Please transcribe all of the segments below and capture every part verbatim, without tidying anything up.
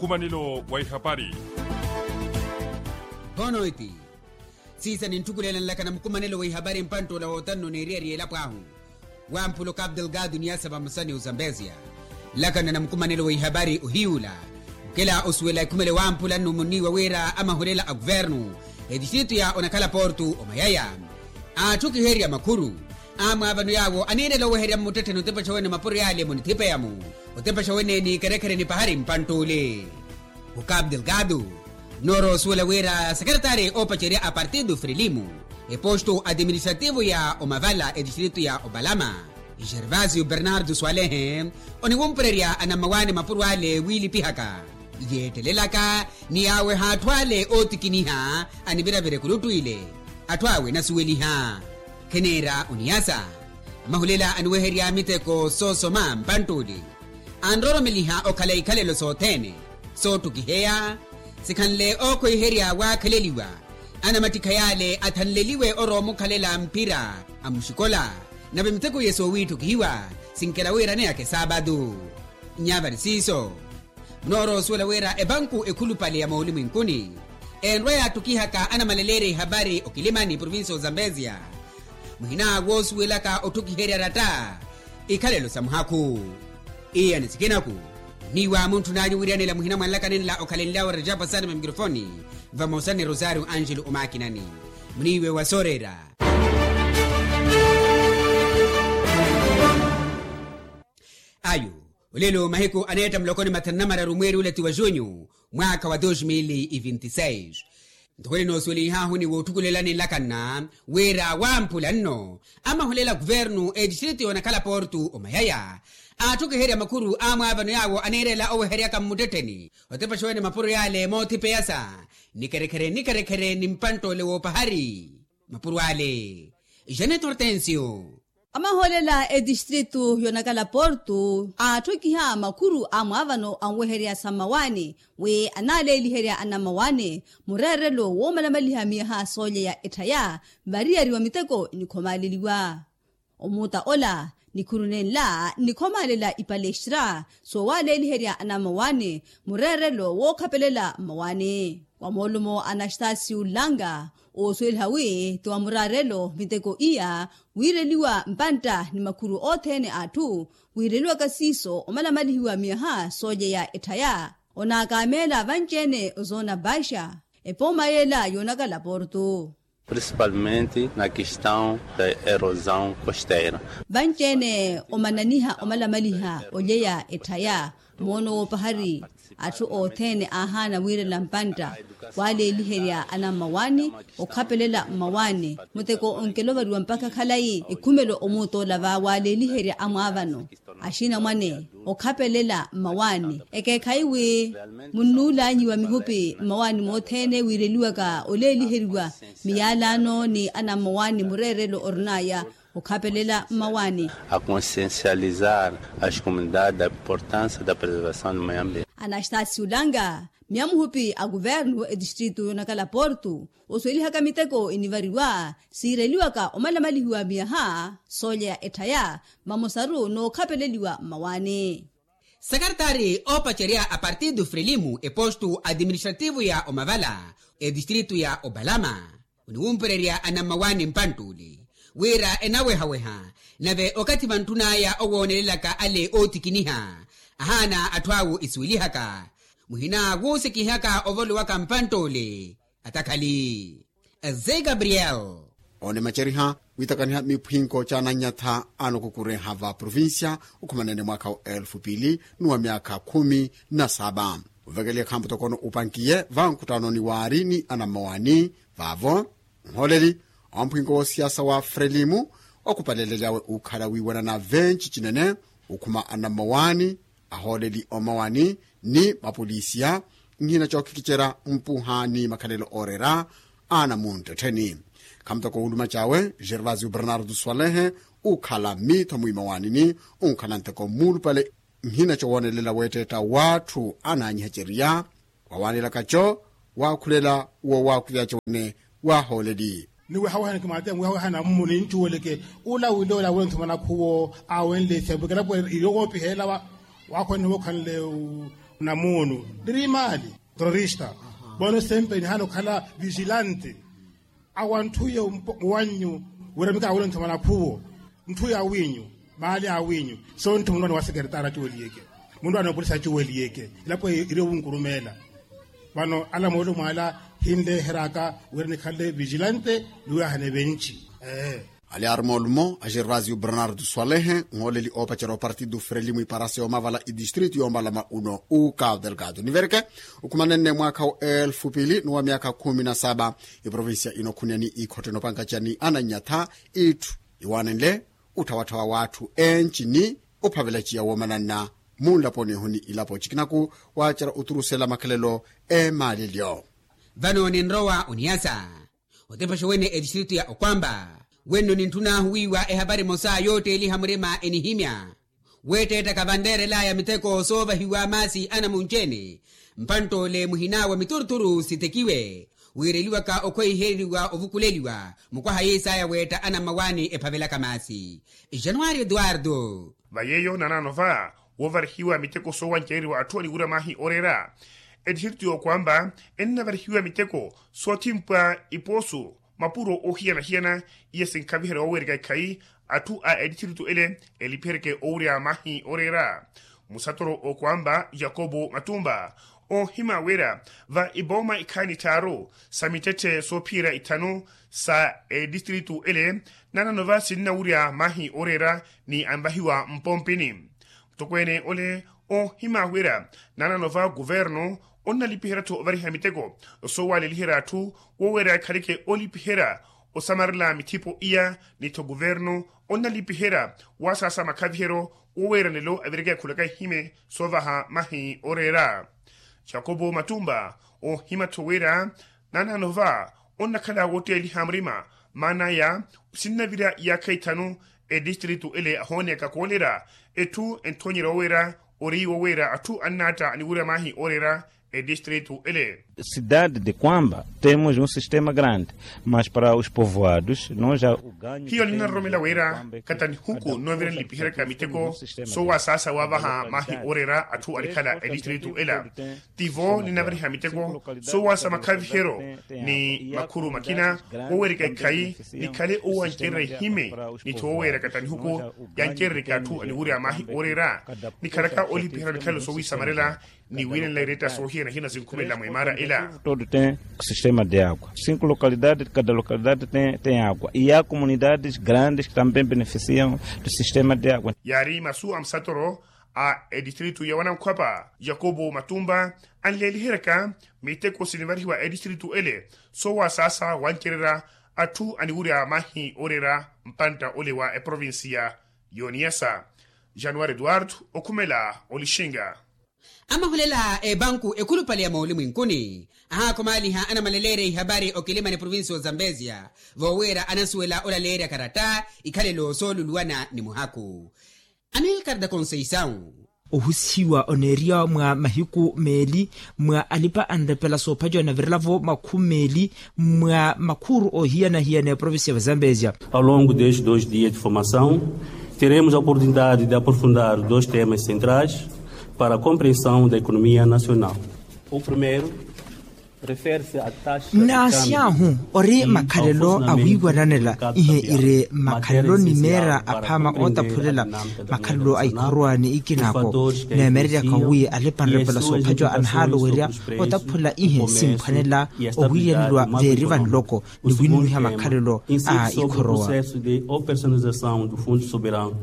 Mukumanelo wa ihapari. Bono eti siisa ninttukulela nlaka na mukumanelo wa ihapari mpantt'ula wootanno neeriyariya elapo ahu. Wamphula okapu delgado niyasa vamosa ni ozambesia. Nlaka na mukumanelo wa ihapari ohiy'ula, okela osuwela ekhumelo wamphula nno munniiwa wira amahulela a kuvernu etistritu ya onakhala portu omayaya. Atthu okiherya makhuru amwaavano yaawo aniirela oweherya mmuttettheni otepexa wene mapuro yaale munithipeya-mu. Otepexa wene ni kerekhere ni pahari mpantt'ule. Okapu delgado noorowa osuwela wira sekeretari oopacerya a partido frelimo eposto atiministrativo ya omavala etistritu ya opalama, gervasio bernardo swalehe oniwumpurerya anammawaani mapuro ale wiilipihaka, yeettelelaka ni yaaweha atthu ale ootikiniha aniviravira ekuluttu ile. Atthu awe enasuweliha, kheneera oniyasa. Amahulela aniweherya miteko soosoma mpantt'ule anrooromeliha okhala ikhalelo sothene soottukiheya. Sikhanle ookhweiherya waakhaleliwa anamattikha yaale athanleliwe orowa omukhalela mphira amuxikola. Nave miteko iye soowiitthukihiwa sinkela wira aneyaka esaapatu. Nyavari siiso munoorowa osuwela wira epanku ekhulupale ya moolimwinkuni enrwa yaattukihaka anamaleleerya ihapari okilimani provincia ozambesia muhina woosuwelaka otthukiherya ratta ikhalelo sa muhakhu. Iyani sikinaku ni wa muntthun'anyu wiiranela muhina mwa nlaka nenla okhalenlyawe rejapa sani va mikirofoni vamosa ni rosario angelo omakinani. Muniiwe wa sooreera. Ayo olelo mahiku aneetta muloko ni mathanu na mararu mweeri ula ti wa junyu mwaakha wa dos mil e vinti seis. Ntoko ninoosuwelihahu ni wootthukulelani nlakanna wira wamphula nno amahulela kuvernu etistritu yoonakhala portu omayaya atthu okiherya makhuru amwaavano yaawo aniirela oweheryaka mmuttettheni otepexa wene mapuro yaale moothipeyasa ni kerekhere ni kerekhere ni mpantt'ule woopahari mapuro ale. Janet hortensio. Amahoolela etistritu yoonakhala portu aatthokiha makhuru a mwaavano anweherya sa mmawaani wi anaaleeliherya anammawaani mureerelo woomalamaliha miyaha soolya ya etthaya variyari wa miteko enikhomaaleliwa. Omuuta ola nikhuru nenla nnikhomaalela ipalestra soowaaleeliherya anammawaani mureerelo wookhapelela mmawaani wa moolumo anastasiu langa oosuweliha wi ti wa muraarelo miteko iya wiireliwa mpantta ni makhuru othene a atthu wiireliwaka siiso omalamalihiwa miyaha soolya ya etthaya onaakameela vanci-ene ozoona baixa epooma yeela yoonakala portu. Principalmente na questão da erosão costeira. Vanci-ene omananiha omalamaliha olyeya etthaya moono woopahari atthu othene aahaana wiirela mpantta waaleeliherya anammawaani okhapelela mmawaani muteko onkelovariwa mpakha khalayi ekhumelo omuutola va waaleeliherya amwaavano axinamwane okhapelela mmawaani ekeekhayi wi munnuulanyiwa mihupi mmawaani mothene wiireliwaka oleeliheriwa miyalano ni anammawaani mureerelo orinaya okhapelela mmawaani. A consciencializar as comunidades da importância da preservação do meio ambiente. Anastasi ulanga miya muhupi a kuvernu etistritu yoonakala portu osuwelihaka miteko enivariwa siireliwaka omalamalihiwa miyaha soolya ya etthaya vamosaru nookhapeleliwa mmawaani. Sekaretari oopacerya a partido frelimo epostu atiministrativo ya omavala etistritu ya opalama oniwumpurerya anammawaani mpantt'ule wira enawehaweha nave okathi vantthun'aya owoonelelaka ale ootikiniha ahaana atthu awo esuwelihaka muhina wuusikihaka ovolo waka mpantt'ule atakhali. Eze gabriel. Oonimaceriha wiitakaniha miphwinko caananyatha anokukureha va provincia okhumanene mwaakha wa elfu pili ni wa myaakha khumi na saba ovekeliha khamputokono upankiye vankhuttano ni waari ni anammawaani vaavo nhooleli omphwinko woosiyasa wa frelimu okhupalelelyawe ukhala wiiwanana venci cinene okhuma anammawaani ahooleli omawaani ni mapolisiya nhina cookikicerya mpuha ni makhalelo ooreera anamunttettheni khamutoko wuluma cawe gervasio bernardo swalehe ukhala miitho mwiimawaanini unkhala nteko muulupale nhina cowoonelela weetteetta w'atthu anaanyihecerya wawaanelaka co waakhulela woowaakuvyaca wene waahooleli ni wehawehana kimaate wehawehana mmuni ncuweleke ula wile ola wenthumana khuwo awenle isembu kelapo iyokopiheelawa Waakhwaniha okhanle namuunu niri imaali terorista. Vano sempre nihaana okhala vigilante awa ntthu ya wannyu wira mikawela ntthomana khuwo ntthu ya winyu maali a winyu. So ntthu mundu aniwa sekeretari acuweliyeke mundu anopolisi acuweliyeke ilapo iri owunkurumeela. Vano ala moolumo ala hinleheraka wira nikhanle vigilante ni wira hane venci. Ee. Ali ari moolumo axirraziyu bernardo swalehe nhooleli oopacerya opartido freli mwiparase omavala idistritu yoombalama uno uka delgado nivereke. Okhumanenne mwaakha wa elfu pili ni wa myaakha khumi na saba iprovincia ino khuniya ni ikhottene opankaca ni ananyatha itthu iwaanenle utthawatthawa w'atthu enci ni ophavelaciya woomananna munlaponi ihu ni ilapo cikinaku waacerya oturusela makhalelo eemaalelyo. Vano ninrowa oniyasa otepaxa wene etistritu ya okwamba wenno nintthun'ahu wiiwa ehapari emosa yootteeliha murima enihimya weetteettaka vanreerel'aya miteko soovahiwa maasi anamunci-ene. Mpantt'ole muhinaawe mituruturu sitekiwe wiireliwaka okhweiheriwa ovukuleliwa mukwaha yiis'aya weetta anammawaani ephavelaka maasi. Januari eduardo. Va yeeyo nanaano va woovarihiwa miteko soowancereriwa atthu aniwurya maahi ooreera. Etistritu y'okwamba ennavarihiwa miteko soothimpwa ipoosu mapuro oohiyana-hiyana iya sinkhaviherya woowereka ikhayi atthu a etistritu ele elipiheryeke owurya maahi ooreera. Musatoro okwamba yakobo matumba oohima wira va ipooma ikhayi nitthaaru sa mittetthe soophiyerya ithanu sa etistritu ele nanano va sinnawurya maahi ooreera ni anvahiwa mpompini. Mutokweene ole oohima wira nanano va kuvernu onnalipiherya-tho ovariha miteko soowaleliherya atthu woweera ekhaleke olipiherya osamarela mithipo iya ni-tho kuvernu onnalipiherya waasaasa makhaviheryo woweera nelo avireke akhulaka ihime soovaha mahi ooreera. Jakopo matumba oohima-tho wira nanano va onnakhala wotteeliha murima maana aya sinnavirya iyaakha ithanu etistritu ele ahooneyaka koolerya etthu entthonyerya woweera ori woweera atthu annaatta aniwurya maahi ooreera etistritu ele. Cidade de kwamba temos um sistema grande mas para os povoados nós a hiyo ninnaroromela wira katanihuku nnoovira nlipiheryaka miteko soowasaasa waavaha maahi ooreera atthu anikhala etistritu ela. Tivo ninnavariha miteko soowaasa makhaviheryo ni makhuru makina wowereka ikhayi nikhale owancererya ihime ni-tho woweera katanihuku yancerereka atthu aniwurya maahi ooreera nikhalaka olipiherya mikhalelo soowisamarela ni wiinanla iretta soohiyana-hiyana sinkhumelela mweemaara ela. Todo tem sistema de agua cinco localidade cada localidade tem agua e a comunidades grandes que também beneficiam do sistema de agua. Yaari masu a musatoro a etistritu ya wanankhwapa yakopo matumba anleeliheryaka miteko sinivarihiwa etistritu ele soowasaasa wancererya atthu aniwurya maahi ooreera mpantta ole wa eprovincia y'oniyasa. Januari eduardo okhumela olixinga. Amahulela epanku ekhulupale ya moolimwinkuni ahaakhumaliha anamaleleerya ihapari okilimani provincia ozambesia voowiira anasuwela olaleerya karatta ikhalelo sooluluwana ni muhaku. Amilcar da conceição. Ohusihiwa oneeriya mwa mahiku meeli mwa alipa anrepela soophaciwa navirela-vo makhumi meeli mwa makhuuru oohiyana-hiyana eprovincia va zambezia. Ao longo destes dois dias de formação teremos a oportunidade de aprofundar dois temas centrais para a compreensão da economia nacional. O primeiro refere-se à taxa de câmbio. Nnaasiy'ahu ori makhalelo a wiiwananela ihe iri makhalelo ni meera aphaama ootaphulela makhalelo a ikhorowa ni ikinako neemereryaka wi alipa anrepela soophaciwa anahaala owerya otaphula ihe simphwanela owiiyaneliwa veeri vanloko ni winuwiha makhalelo a ikhorowa. De operacionalização do fundo soberano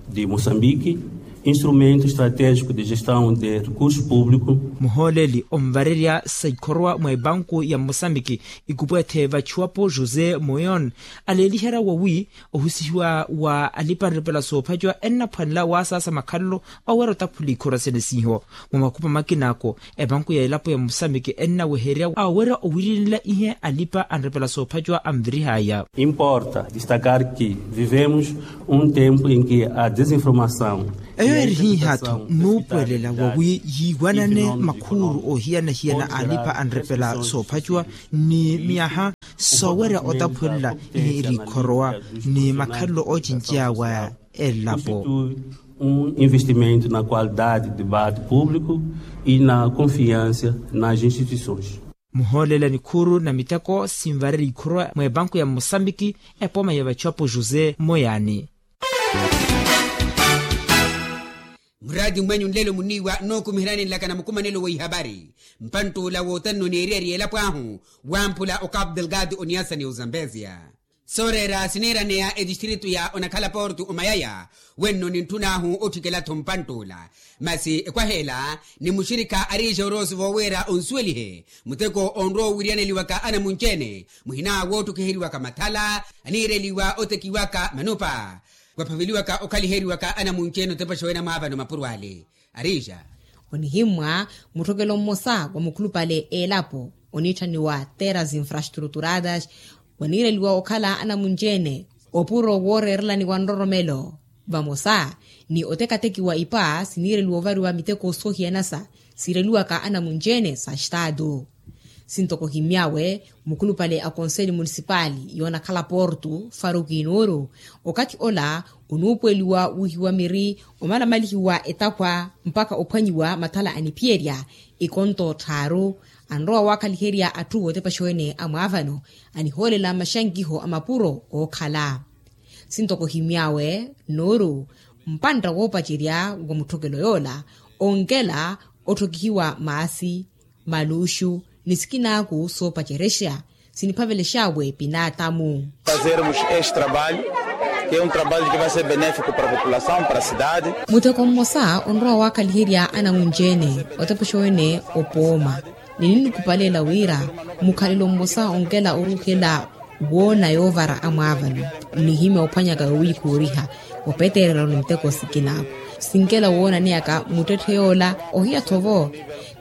de moçambique, instrumento estratégico de gestão de recurso público. Muhooleli onvarerya sa ikhorowa mwa epanku ya moçambique ikupweethe vachiwapo josé moyon aleeliherya wawi ohusihiwa wa alipa anrepela soophaciwa ennaphwanela waasaasa makhalelo owerya otaphula ikhorowa sene siihiwa. Mwa makhupa makina ako epanku ya elapo ya moçambique ennawehererya awerya owiirenela ihe alipa anrepela soophaciwa anvirihaya. Importa destacar que vivemos um tempo em que a desinformação eyo eri hiiha-tho nnuupuwelela wawi yiiwanane makhuuru oohiyana-hiyana alipa anrepela soophaciwa ni miyaha soowerya otaphulela ihe iri ikhorowa ni makhalelo oocinceya wa elapo. Un investimento na qualidade debate público e na confiança nas instituições. Muhoolela nikhuru na miteko sinvareri ikhurwa mwebanku ya mosambiki, epooma ya vachapo jose moyani. Muraati mmwenyu nlelo muniiwa nookumiherani nlaka na mukumanelo wa ihabari. Mpantt'ula wootanno neeriyari elapo ahu wamphula okapu delgado oniasa ni ozambezia. Sooreera siniiraneya etistritu ya onakhala portu omayaya, wenno nintthun'ahu otthikela-tho mpantt'ula. Masi ekwaha ela ni muxirikha ariixa oroosi voowiira onsuwelihe muteko onrowa owiriyaneliwaka anamunci-ene, muhina wootthukhiheriwaka mathala, aniireliwa otekiwaka manupa, kwaphaveliwaka okhaliheriwaka anamunci-ene otepexa wene amwaavano mapuro ale. Ariixa onihimmwa mutthokelo mmosa wa mukhulupale elapo oniitthaniwa terras infrastruturadas, waniireliwa okhala anamunci-ene opuro wooreerelani wa nroromelo. Vamosa ni otekatekiwa ipa siniireliwa ovariwa miteko soohiyanasa siireliwaka anamunci-ene sa staatu. Sintoko ohimmy'awe mukhulupale a konseli munisipali yoonakhala portu faruki nuuru, okathi ola onuupuweliwa wuuhiwa miri, omalamalihiwa etakhwa mpakha ophwanyiwa mathala aniphiyerya ikonto tthaaru. Anrowa waakhaliherya atthu ootepexa wene amwaavano anihoolela maxankiho a mapuro ookhala. Sintoko ohimmy'awe nuuru mpantta woopacerya wa mutthokelo yoola onkela otthokihiwa maasi, maluuxu ni sikinaaku soopacerexa siniphavelex'awe pinaatamu. Fazermos este trabalho, que é um trabalho que vai ser benéfico para a população, para a cidade. Muteko mmosa onrowa waakhaliherya anamunci-ene otepexa wene opooma. Nininikupalela wira mukhalelo mmosa onkela oruuhela woona yoovara amwaavano. Nnihimya ophwanyaka yowiikooriha opetereroni muteko sikinaaku sinkela woonaneyaka muttetthe yoola. Ohiya-tho vo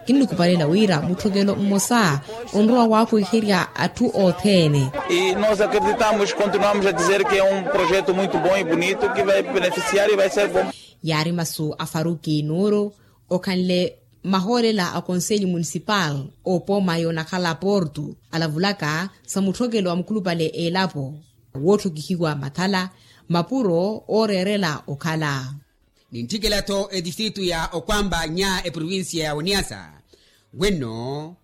kinnikupalela wira mutthokelo mmosa onrowa waakhuhiherya atthu othene. E nós acreditamos continuamos a dizer que é um projeto muito bom e bonito que vai beneficiar e vai ser bom. Yaari masu a faruki nuuru okhanle mahoolela a konseli munisipal opooma yoonakhala portu alavulaka sa mutthokelo wa mukhulupale elapo wootthokihiwa mathala mapuro ooreerela okhala. Nintthikela-tho etistritu ya okwamba nya eprovincia ya oniasa wenno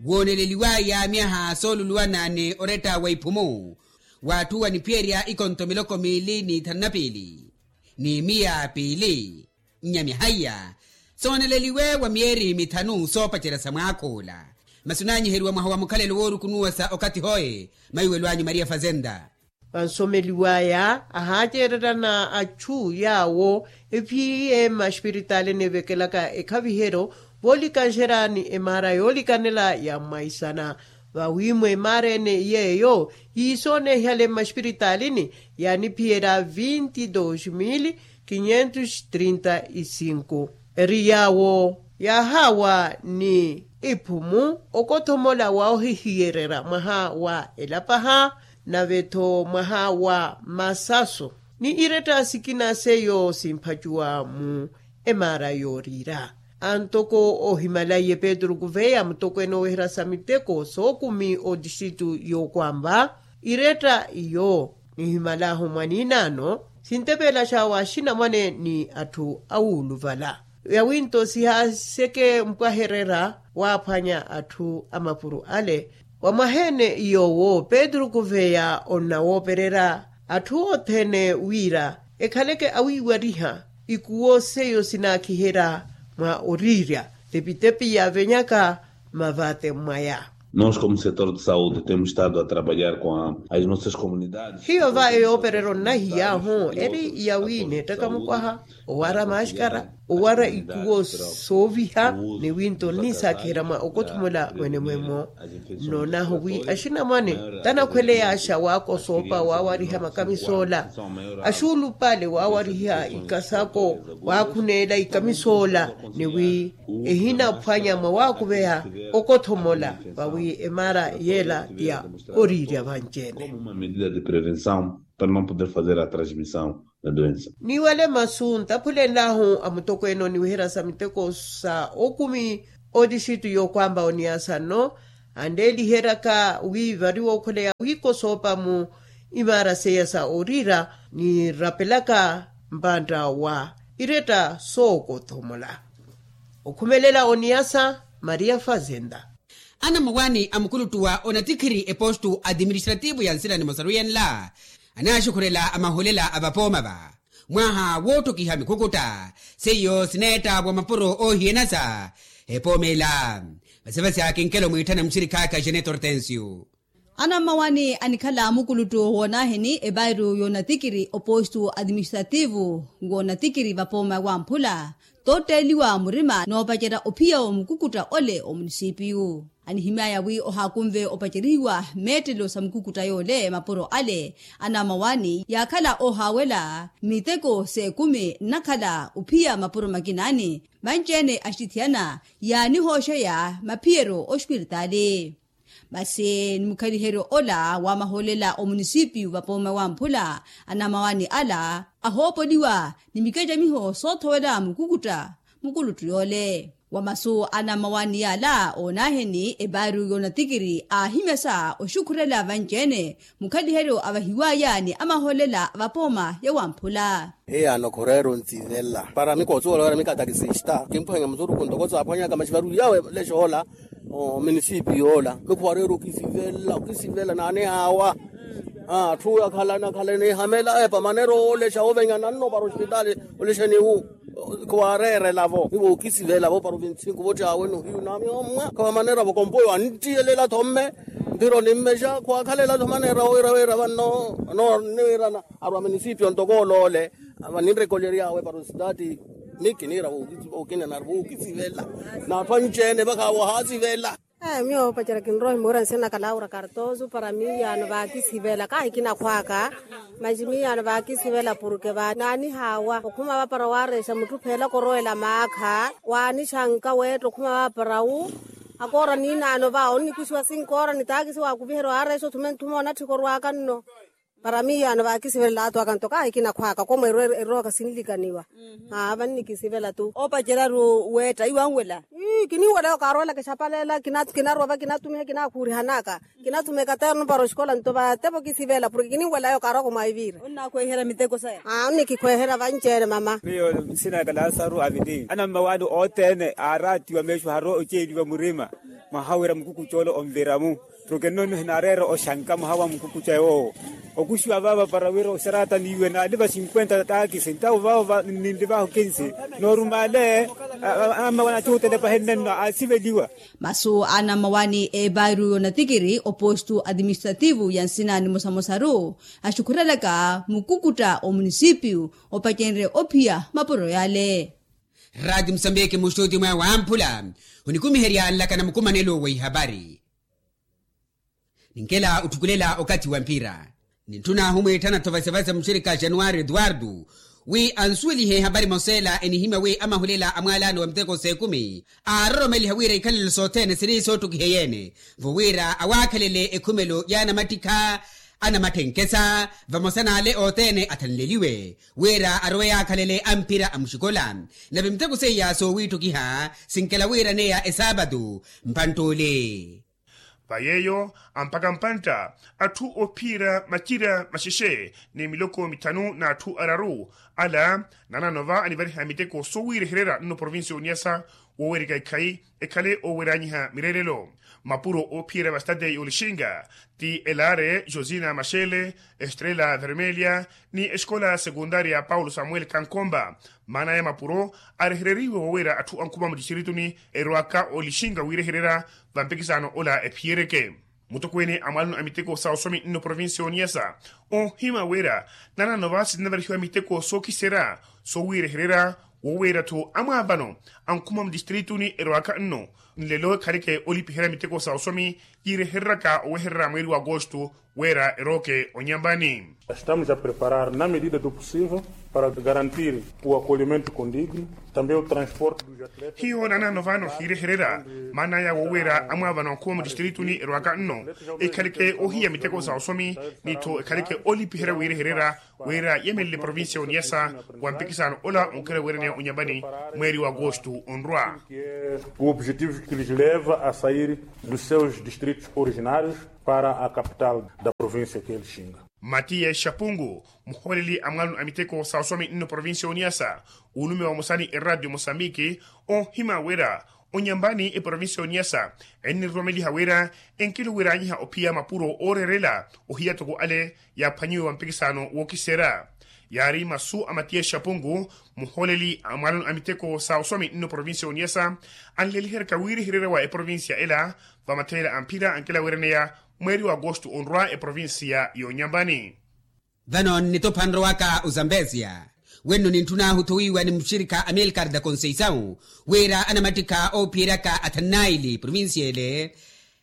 wooneleliwaya myaha sooluluwana ni oretta wa iphumu w'atthu waniphiyerya ikonto miloko miili ni ithanu na piili ni miya piili nya myaha iya sooneleliwe wa myeeri mithanu soopacerya sa mwaakhuula. Masi onaanyiheriwa mwaha wa mukhalelo woorukunuwa sa okathi hoye maiwelo anyu maria fazenda. Vansomeliwaya ahaacererana atthu yaawo ephiye mmaxipiritalini evekelaka ekhaviheryo voolikanxerya ni emaara yoolikanela ya mmaisana. Vawi mwa emaara ene yeeyo yiisoonehale mmaxipiritalini yaaniphiyerya vinti dos mil quinhentos trinta e cinco. Eri yaawo yaahaawa ni iphumu okothomola wa ohihiyererya mwaha wa elapaha nave-tho mwaha wa masaso ni iretta sikina seiyo simphacuwa mu emaara yooriira. Antoko ohimalaiye petru kuveya mutokweene oweherya sa miteko sookumi otixitu yookwampa iretta iyo nihimalahu mwaniinaano sintepelaxa wa axinamwane ni atthu awuuluvala. Yawinto sihaaseke mpwahererya waaphwanya atthu a mapuro ale. Wa mwaheene yoowo petru kuveya onnawoopererya atthu othene wira ekhaleke awiiwariha ikuwo seiyo sinaakiherya mwa oriirya tepitepi yaavenyaka mavate mwaya. Nos como setor de saude temos estado a trabalhar com as nossas comunidades. Hiyo va eyoopererya onnahiyahu eri yawi neettaka mukwaha owara maxkara owara ikuwo sooviha ni winto nniisaakiherya mwa okothomola mwene mwemo. Nnoonahu wi axinamwane tanakhweleyaxa waakosoopa waawariha makamisoola axuulupale waawariha ikasako waakhuneela ikamisoola ni wi ehinaphwanya mwa waakuveya okothomola vawi emaara yeela ti ya oriirya vanci-ene. Para não poder fazer a transmissão da doença. Ni wale masu ntaphulenlahu a mutokweene oniweherya sa miteko sa okumi otixitu yookwampa oniasa nno anleeliheryaka wi vari wookholeya wiikosoopa mu imaara seiya sa oriira nirapelaka mpantta wa iretta sookothomola. Okhumelela oniyasa maria fazenda. Anammawaani a mukuluttu wa onatikhiri epostu administrativu ya nsila ni mosaru yenla anaaxukhurela amaholela a vapooma va mwaha woottukiha mikukutta seiyo sineetta wa mapuro oohiyanasa epoomela. Vasivasi akinkelo mwiitthana muxirikhaakha jeneto hortensio. Anammawaani anikhala mukuluttu woonaheni epairu yoonatikiri opostu administrativu woonatikiri vapooma wamphula tootteeliwa murima noopacerya ophiya omukukuta ole omunisipiyu. Anihimyaya wi ohaakunve opacerihiwa meettelo sa mukukuta yoole mapuro ale anammawaani yaakhala oohaawela miteko s'ekumi nnakhala ophiya mapuro makinaani vanci-ene axitithiyana yaanihooxeya maphiyeryo ospiritaali. Masi ni mukhaliheryo ola wa mahoolela omunisipiyu vapooma wamphula anammawaani ala ahoopoliwa ni mikecamiho soothowela mukukuta mukuluttu yoole. Wa masu anammawaani yaala oonaheni epaaru yoonatikiri aahimyasa oxukhurela vanci-ene mukhaliheryo avahiwaya ni amahoolela a vapooma ya wamphula. Hiyaano khureera ontsivelela para mikoosuwela wira mikatakisista kimphwanya musuruku ntoko saaphwanyaka maxivaru yawe lexoola. Minisipi yoola mikhuwareera okisivela okisivela naanihaawa. Atthu akhalana akhalana ehamela epa manera oolexa ovenyana nno para ospitaali olexeniwu. Khuwareerela-vo nivo okisivela-vo para ovintsinku vottiawe nohiyu namiyo mmwa khawamanera-vo kompoyo anttiyelela-tho mme. Nthiro nimmexa khuwakhalela-tho manera wira wira vanno. Niwirana arwa minisipi ontoko oloole. Vaninrekolery'awe para ositaati. Ni kiniira wookina nari wookisivela n'atthu anci-ene vakhawo ohaasivela. Miyo opacerya kinrowa ohimuwira nsina naka laura kartoso para miiyaano vaakisivela kahi kinakhw'aka. Maxi miiyaano vaakisivela purke vaananihaawa okhuma vapara waarexa mutthu pheelaka orowela maakha waanixanka weetta okhuma vapara wu. Akoora niinaano va onnikuxiwa sinkoora ni taakisi waakuviherya waarexa othume nthume onatthika orw'aka nno. Para miiyaano vaakisivelela athu aka nto kahi kinakhw'aka komwe erooka sinlikaniwa. Aa vannikisivela-tu. Oopacerya-ru weetta iwanwela. Ii kininwela yo kaarowela kixapaleela kinarwa va kinatumiha kinaakhuurihanaka. Kinathuma ekaterno para oxikola nto vatepa okisivela porke kininwela yo kaarowa komwaiviira. Onnakhweeherya miteko saya. Aa onnikikhweeherya vanci-ene mama. Miyo nsina naka lasaru avili anammawaani othene aaraatiwa meexo haro oceeliwa murima. Mwaha wira mukukuca ole onvira-mu. Porke nno nno hinaareera oxanka mwaha wa mukukuca yoowo. Okuxiwa vaava para wira oxarata niiwe naaliva sinkwenta taakisi ntawo vaavo ninlivaho kinsi. Noorumale anammawaani acuutele pahenne nno aasiveliwa. Masu a anammawaani eepaaru yoonatikiri opostu administrativu ya nsina nimosamosaru axukhurelaka mukukuta omunisipiyu opacenrye ophiya mapuro yale. Raati musambiki muxuti mwaya wamphula onikumiherya nlaka na mukumanelo wa ihapari. Ninkela otthukulela okathi wa mpira nintthuna ahumwiittana-tho vasevase muxirikha januwari eduwardu wi ansuwelihe ehapari emosa ela enihimya wi amahulela a mwaalaano wa miteko s'ekumi aaroromeliha wira ikhalelo sothene siri soottukiha eyeene vo wira awaakhalele ekhumelo y'anamattikha anamatthenkhesa vamosa n'ale othene athanleliwe wira arowe yaakhalele amphira a muxikola. Nave miteko seiya soowiittukiha sinkela wira neya esaapatu mpanttuule. Va yeeyo amphaka mpantta atthu ophiira macira maxexe ni miloko mithanu n'atthu araru ala nanano va anivariha miteko soowiirehererya nno provincia oniyasa woowerika ikhayi ekhale ooweryanyiha mireerelo. Mapuro oophiyerya vastade y'olixinga ti elaare josina maxele estrela vermelia ni exikola sekundaria paulo samuel kankomba maana aya mapuro arehereriwe woowerya atthu ankhuma mutixitirituni erowaka olixinga wiirehererya vampikisaano ola ephiyereke. Mutokweene a mwalano a miteko sa osomi nno provincia oniyasa onhima wira nanano va sinnavarihiwa miteko sookiserya soowiirehererya wooweerya-tho amwaavano ankhuma mutixitirituni erowaka nno nlelo ekhaleke olipiherya miteko sa osomi yiirehereryaka owehererya mweeri wa agosto wira erooke onyambani. Estamos a preparar na medida do possível para garantir o acolhimento condigno, também o transporte dos atletas. Hiyo nanano vano hiirehererya maana aya wooweerya amwaavano ankhuma mutixitirituni erowaka nno ekhaleke ohiya miteko sa osomi ni-tho ekhaleke olipiherya wiirehererya wira yemelele provincia oniyasa wa mpikisano ola onkhala weeraniya onyambani mweeri wa agosto onrwa. O objetivo que lhes leva a sair dos seus distritos originários para a capital da província que é lixinga. Matiya exapungu, muhooleli a mwaloni a miteko sa oswami nno provincia y'oniyasa, ulume vamosa ni eradio mosambiki, onhima wira onyambani eprovincia y'oniyasa enniroromeliha wira enkiluwiranyiha ophiya mapuro ooreerela ohiya toko ale yaaphwanyiwe wa mpikisano wookiseera. Yaari masu a matiya exapungu, muhooleli a mwaloni a miteko sa oswami nno provincia y'oniyasa, anleeliheryaka wiiriheryerya wa eprovincia ela vamatheela a mphira ankilawiraneya mweeri wa agosto onrwa eprovincia y'onyambani. Vano nnitophanrowaka ozambezia wenno nintthun'ahu thowiiwa ni muxirikha amilcar da conceição wira anamattikha oophiyeryaka athanu naili provincia ele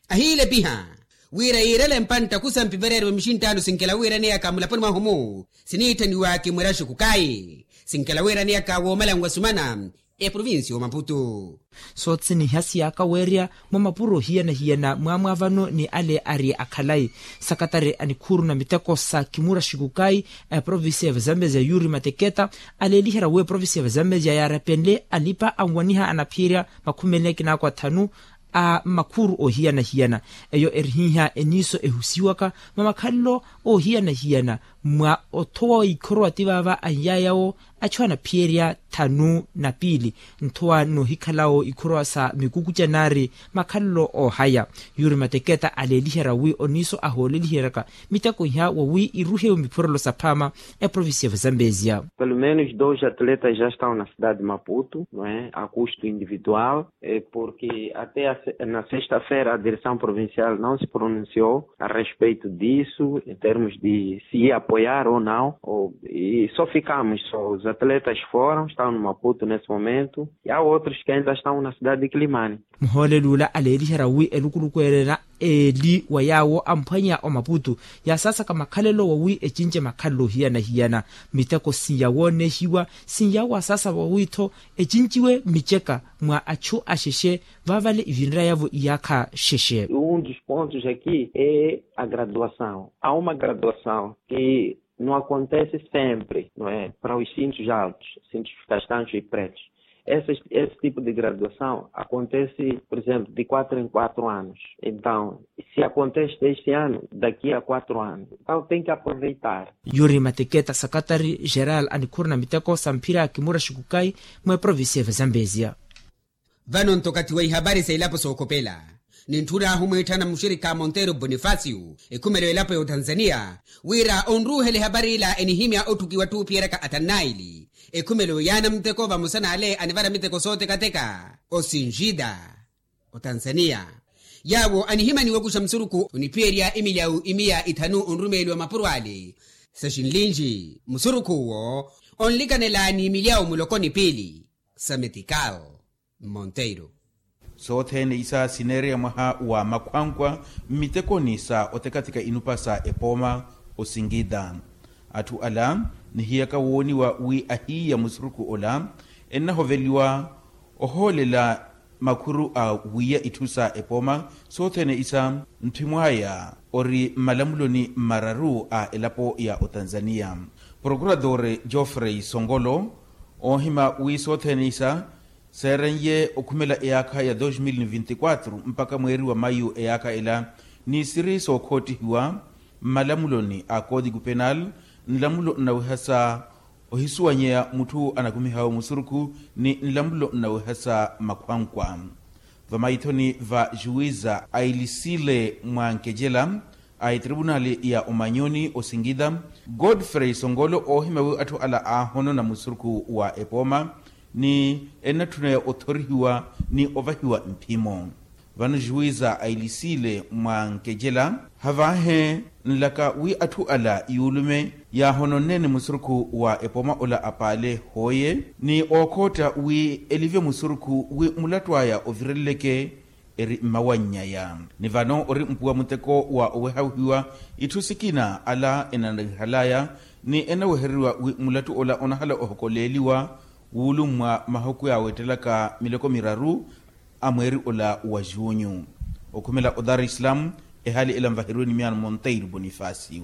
ahiilepiha wira yiirele mpantta kusampivereeriwe mixinttaano sinkelawiraneyaka mulaponi mwahu-mu siniitthaniwaki mweraxuku kayi sinkelawiraneyaka woomalanwa sumana eprovincia omaputu. Soothene ihasiyaka weerya mwa mapuro hiyana-hiyana mwaamwa vano ni ale ari akhalayi sakatari a nikhuuru na miteko sa kimura xikukayi a eprovincia ya vazambezia yuri mateketa aleeliherya wi eprovincia ya vazambezia yaarepenle alipa anwaniha anaphiyerya makhumi eli na kinaako athanu a makhuuru oohiyana-hiyana. Eyo erihiiha eniiso ehusiwaka mwa makhalelo oohiyana-hiyana mwa othowa ikhorowa ti vaava anyaya awo achu anaphiyerya thanu na piili nthowa noohikhalawo ikhorowa sa mikukucha naari makhalelo oohaya. Yuri mateketa aleeliherya wi oniiso ahooleliheryaka miteko iha wawi iruhewe miphurelo saphaama eprovincia ya vazambezia. Pelo menos dois atletas já estão na cidade de maputo, não é, a custo individual. Porque até na sexta-feira a direção provincial não se pronunciou a respeito disso em termos de se ia apoiar ou não. E só ficamos só os atletas foram estão no maputo nesse momento e há outros que ainda estão na cidade de quilimani. Muhooleli ula aleeliherya wi elukuluku erera eli wa yaawo amphwanya omaputu yaasaasaka makhalelo wawi ecince makhalelo ohiyana-hiyana miteko sinyawoonehiwa sinyawaasaasa wawi-tho ecinciwe miceka mwa achu axexe vaavale ivinraya-vo iyaakha xexe. Um dos pontos aqui é a graduação. Há uma graduação que não acontece sempre, não é, para os cintos altos, cintos castanhos e pretos. Esse tipo de graduação acontece, por exemplo, de quatro em quatro anos. Então, se acontece este ano, daqui a quatro anos, então tem que aproveitar. Yuri mateketa sakatari geral a nikhuuru na miteko sa mphira kimura xikukayi mwa eprovincia ya vazambezia. Vano nto okathi wa ihapari sa elapo sookhopela nintthun'ahu mwiitthana muxirikha monteiro bonifacio ekhumelo elapo ya otanzania wira onruuhela ehapari ila enihimya otthukiwa ttuupiyeryaka athanu naili ekhumelo yaana muteko vamosa n'ale anivara miteko sootekateka osinjida otanzania yaawo anihimaniwa okuxa musurukhu oniphiyerya emilyawu imiya ithanu onrumeeliwa mapuro ale sa xinlinji musurukhu owo onlikanela ni milyawu muloko ni piili sa metikal monteiro. Sothene isa sineereya mwaha wa makhwankwa mmitekoni sa otekatika inupa sa epooma osingida atthu ala nihiyaka wooniwa wi ahiiya musurukhu ola ennahoveliwa ohoolela makhuru a wiiya itthu sa epooma sothene isa ntthimw'aya ori mmalamuloni mmararu a elapo ya otanzania prokuradore geoffrey songolo oohima wi sothene isa seeren'ye okhumela eyaakha ya dos mil ni vinti kwatru mpakha mweeri wa mayu eyaakha ela ni siri sookhottihiwa mmalamuloni a koodiku penal nlamulo nnawehasa ohisuwanyeya mutthu anakumihawe musurukhu ni nlamulo nnawehasa makhwankwa vamaithoni va juwiza ailisile mwa nkecela a etripunali ya omanyoni osingida godfrey songolo oohima wi atthu ala aahonona musurukhu wa epooma ni ennatthuneya othorihiwa ni ovahiwa mphimo vano juwiza ailisile mwa nkecela havaahe nlaka wi atthu ala yuulume yaahononneene musurukhu wa epooma ola apaale hooye ni ookhotta wi elivye musurukhu wi mulattu aya ovireleleke eri mmawanny'aya ni vano ori mpuwa muteko wa owehawihiwa itthu sikina ala enanarihal'aya ni enawehereriwa wi mulattu ola onahala ohokoleeliwa wuulummwa mahuku yaaweettelaka miloko miraru a mweeri ola wa junyu okhumela odar islam ehali ela nvaheriwe ni miyaano monteiro bonifacio.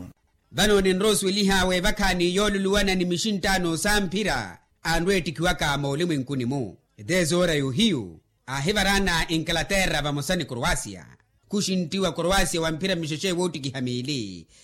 Vano ninrowa osuweliha weevakhaani yooluluwana ni mixinttaano sa mphira anrweettikiwaka moolimwenkuni-mu eteesoora yohiyu aahivaraana inkalaterra vamosa ni koroasia khuxinttiwa koroasia wa mphira mixexe woottikiha miili